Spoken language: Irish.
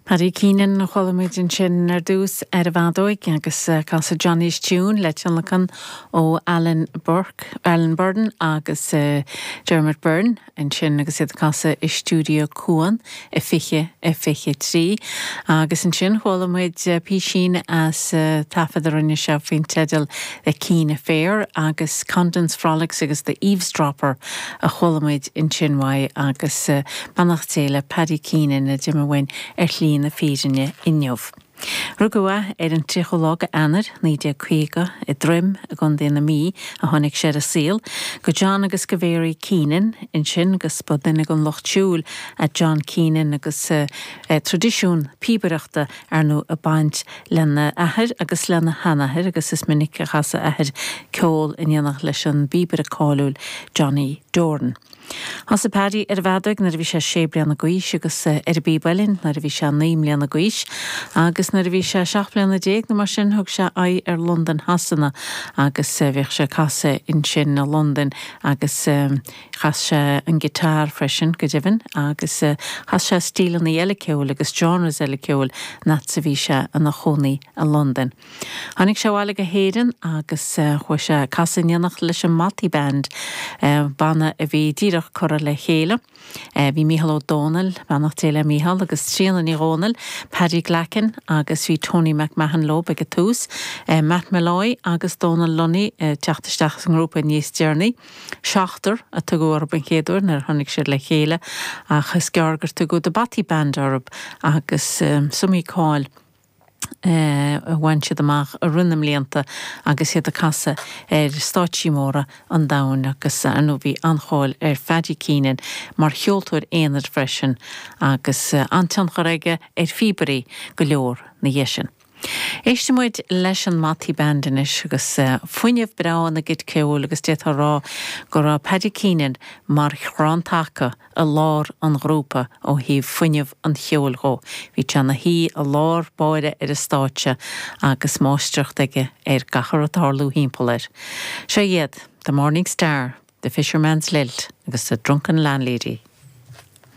Paddy Keenan a chuala muid ansin ar dtús ar an bhfeadóig agus casadh Johnny's Tune le tionlacan ó Alan Burke, Alan Burden agus Dermot Byrne ansin agus iad ag casadh i stiúideo Cuan i 2023. Agus ansin chuala muid písín as taifead a rinne sé faoin teideal The Keane Affair agus Condon's Frolics agus The Eavesdropper a chuala muid ansin uaidh agus beannacht Dé le Paddy Keenan a d'imigh uainn ar shlí na fírinne inniu. Rugadh é ar an 30ú lá de Eanáir, 1950, i dTroim i gContae na Mí a tháinig sé ar an saol, go John agus go Mary Keenan ansin agus ba duine den lucht siúil é John Keenan agus traidisiún píobaireachta ar ndóigh ag baint lena athair agus lena sheanathair agus is minic a chas a athair ceol in éineacht leis an bpíobaire cáiliúil Johnny Doran. Thosaigh Paddy ar an bhfeadóig nuair a bhí sé sé bliana d'aois agus ar an bpíb uilleann nuair a bhí sé 9 mbliana d'aois agus nuair a bhí sé 17 mbliana nó mar sin thug sé aghaidh ar Londain Shasana agus bhíodh sé ag casadh ansin i Londain agus chas sé an guitar freisin go deimhin agus chas sé stíleanna eile ceoil agus genres eile ceoil an fhad is a bhí sé ina chónaí i Londain. Tháinig sé abhaile go hÉirinn agus chuaigh sé ag casadh in éineacht leis an mBothy Band, banna a bhí díreach curtha le chéile. Bhí Mícheál Ó Domhnaill, beannacht Dé le Mícheál, agus Tríona Ní Dhomhnaill, Paddy Glackin agus bhí Tony McMahon leo ag an tús, Matt Molloy agus Dónal Lunny ag teacht isteach sa ngrúpa níos deireanaí. Seachtar a tugadh orthu an chéad uair nuair a tháinig siad le chéile ach is gearr gur tugadh The Bothy Band orthu agus is iomaí cáil a bhain siad amach i rith na mblianta agus iad ag casadh ar stáitsí móra an domhain agus ar ndóigh bhí an-cháil ar Phaddy Keenan mar cheoltóir aonair freisin agus an-tionchar aige ar phíobairí go leor 'na dhiaidh sin. Éistfidh muid leis an mBothy Band anois agus fuinneamh breá ina gcuid ceoil agus d'fhéadfá a rá go raibh Paddy Keenan mar chrann taca i lár an ghrúpa ó thaobh fuinneamh an cheoil dhó. Bhí sé ina shuí i lár báire ar an stáitse agus máistreacht aige ar gach a raibh ag tarlú thimpeall air. Seo iad, The Morning Star, The Fisherman's Lilt agus The Drunken Landlady.